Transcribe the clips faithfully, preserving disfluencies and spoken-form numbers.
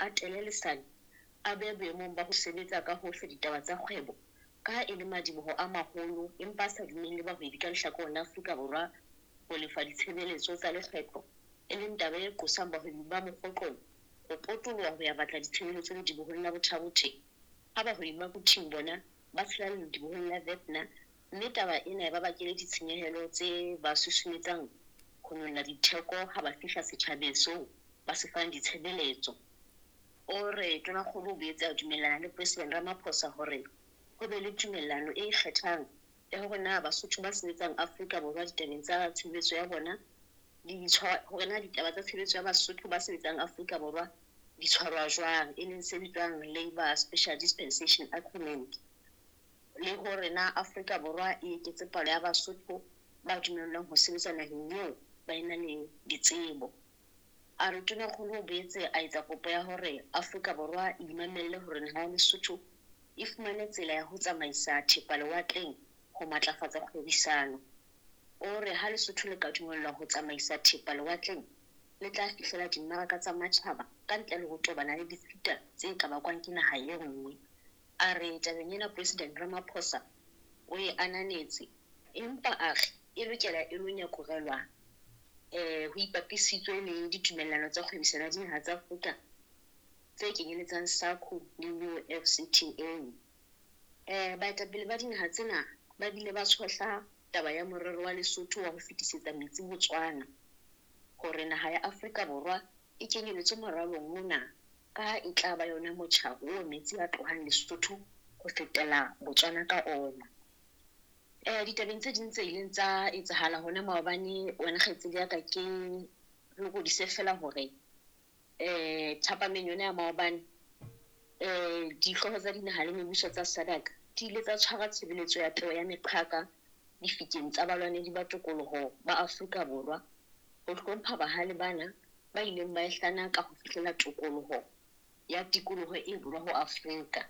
a tele lesane a behe boemong ba ho sebetsa ka hohle ditaba tsa kgwebo ka ha e le madiboho a maholo empa a sa dumelle bahwebi ka lehlakoreng la Afrika Borwa ho lefa ditshebeletso tsa lekgetho, e leng taba e qosang bahwebi ba Mokhotlong ho potoloha ho ya batla ditshebeletso ledibohong la Botha-Bothe ha bahwebi ba Quthing bona ba tshela ledibohong la Ventna mme taba ena e ba bakele ditshenyehelo tse ba susumetsang ho nyolla ditheko ha ba fihla setjhabeng seo ba se fang ditshebeletso. O re Tonakgolo o boetse a dumellana le President Ramaphosa hore ho be le tumellano e ikgethang ya hore na Basotho ba sebetsang Afrika Borwa ditabeng tsa tshebetso ya bona di tshwa hore na ditaba tsa tshebetso ya Basotho ba sebetsang Afrika Borwa di tshwarwa jwang, e leng se bitswang Labour Special Dispensation Agreement, le hore na Afrika Borwa e eketse palo ya Basotho ba dumellwang ho sebetsa naheng eo ba ena le ditsebo. A re Tonakgolo o boetse a etsa kopo ya hore Afrika Borwa e imamelle hore naha ya Lesotho e fumane tsela ya ho tsamaisa thepa lewatleng ho matlafatsa kgwebisano. O re ha Lesotho le ka dumellwa ho tsamaisa thepa lewatleng, le tla fihlela dimmaraka tsa matjhaba ka ntle le ho tobana le ditshita tse ka bakwang ke naha e nngwe. A re tabeng ena President Ramaphosa o e ananetse, empa a re e lokela e lo nyakurelwa eh ho ipapisitswe le ditumellano tsa kgwebisano ya dinaha tsa Afrika tse kenyeletsang SACU le U F C T A. Eh baetapele ba dinaha tsena ba bile ba tshohla taba ya morero wa Lesotho wa ho fetisetsa metsi Botswana hore naha ya Afrika Borwa e kenyeletswe moralong ona ka ha e tla ba yona motjha oo metsi a tlohang Lesotho ho fetela Botswana ka ona. Eh ditabeng tse ding tse ileng tsa etsahala hona maobane, wena kgaitsedi ya ka, ke lokodise fela hore eh thapameng yona ya maobane eh dihlooho tsa dinaha le mebuso tsa SADC di ile tsa tshwara tshebeletso ya peo ya meqhaka difikeng tsa balwanedi ba tokoloho ba Afrika Borwa ho hlompha bahale bana ba ileng ba e hlanaka ho fihlela tokoloho ya tikoloho e borwa ho Afrika.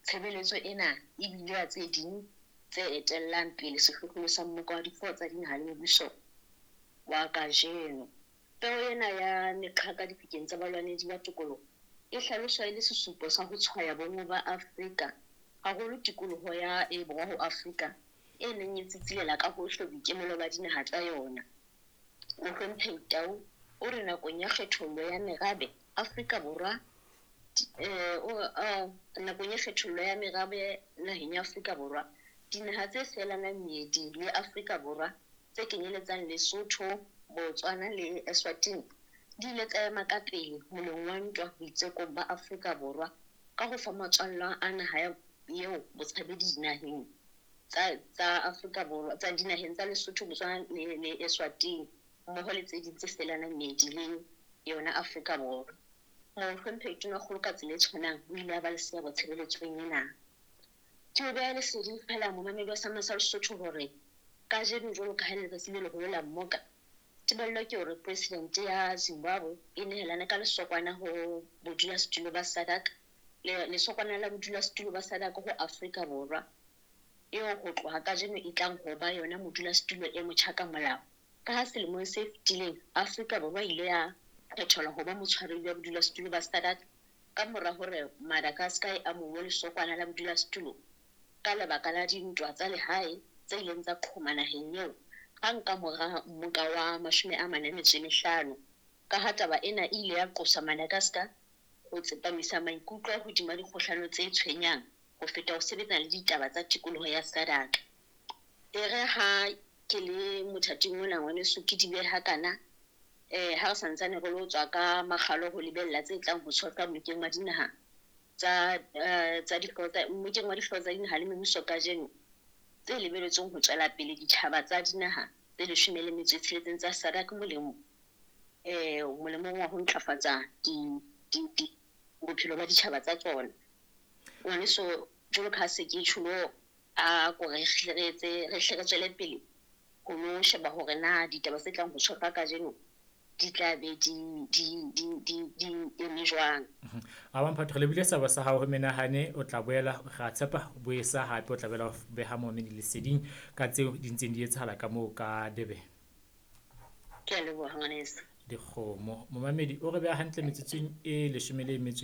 Tshebeletso ena e bile ya tse ding tse etellang pele sehlohlolo sa mmoka wa dihlooho tsa dinaha le mebuso wa kajeno. Peo ena ya meqhaka difikeng tsa balwanedi ba tokoloho e hlaloswa e le sesupo sa ho tshwaya bonngwe ba Afrika, haholo tikoloho ya e borwa ho Afrika e neng e tsitsilela ka hohle boikemelo ba dinaha tsa yona. Mohlomphehi Tau o re nakong ya kgethollo ya merabe Afrika Borwa eh o nakong ya kgethollo ya merabe naheng ya Afrika Borwa, dinaha tse felanang meedi le Afrika Borwa tse kenyeletsang Lesotho, Botswana le Eswatini di ile tsa ema ka pele moleng wa ntwa boitsekong ba Afrika Borwa ka ho fa matswallwa a naha eo botshabedi dinaheng tsa tsa Afrika Borwa tsa dinaheng tsa Lesotho, Botswana le, le Eswatini mmoho le tse ding tse felanang meedi le yona Afrika Borwa. Mohlomphehi Tonakgolo ka tsela e tshwanang o ile a ba le seabo tshebeletsong ena. Ke o beha leseding fela momamedi wa Sama sa Lesotho hore kajeno jwalo ka ha e le letsatsi le leholo la mmoka, tebello ke hore president ya Zimbabwe e nehelane ka lesokwana ho bodulasetulo ba SADC, le lesokwana la bodulasetulo ba SADC ho Afrika Borwa, eo ho tloha kajeno e tlang ho ba yona modulasetulo e motjha ka molao. Ka ha selemong se fetileng Afrika Borwa e ile ya kgethelwa ho ba motshwaredi wa bodulasetulo ba SADC ka mora hore Madagascar e amohuwe lesokwana la bodulasetulo ka lebaka la dintwa tsa lehae tse ileng tsa qhoma naheng eo hang ka mora mmoka wa mashome a mane a metso e mehlano. Ka ha taba ena e ile ya qosa Madagascar ho tsepamisa maikutlo hodima dikgohlano tse tshwenyang ho feta ho sebetsana le ditaba tsa tikoloho ya SADC. E re ha ke le mothating ona ngwaneso ke di beha kana eh ha re santsane re lo tswa ka makgalo ho lebella tse tlang ho tshohlwa mmokeng wa dinaha tsa tsa dihlooho tsa mmokeng wa dihlooho tsa dinaha le mebuso kajeno tse lebelletsweng ho tswela pele ditjhaba tsa dinaha tse leshome le metso e tsheletseng tsa SADC molemo eh molemong wa ho ntlafatsa di di di bophelo ba ditjhaba tsa tsona. Ngwaneso jwalo ka ha se ke tjholo a ko re hle re etse re hle re tswele pele ho lo sheba hore na ditaba tse tlang ho tshohlwa kajeno di tla be di di di di di eme jwang. A Mphato, re lebile seabo sa hao ho menahane, o tla boela ra tshepa o boesa hape o tla boela o beha momamedi leseding ka tseo di ntseng di etsahala ka moo ka Durban. Ke a leboha ngwaneso. Dikgomo. Momamedi o re beha hantle metsotsong e leshome le metso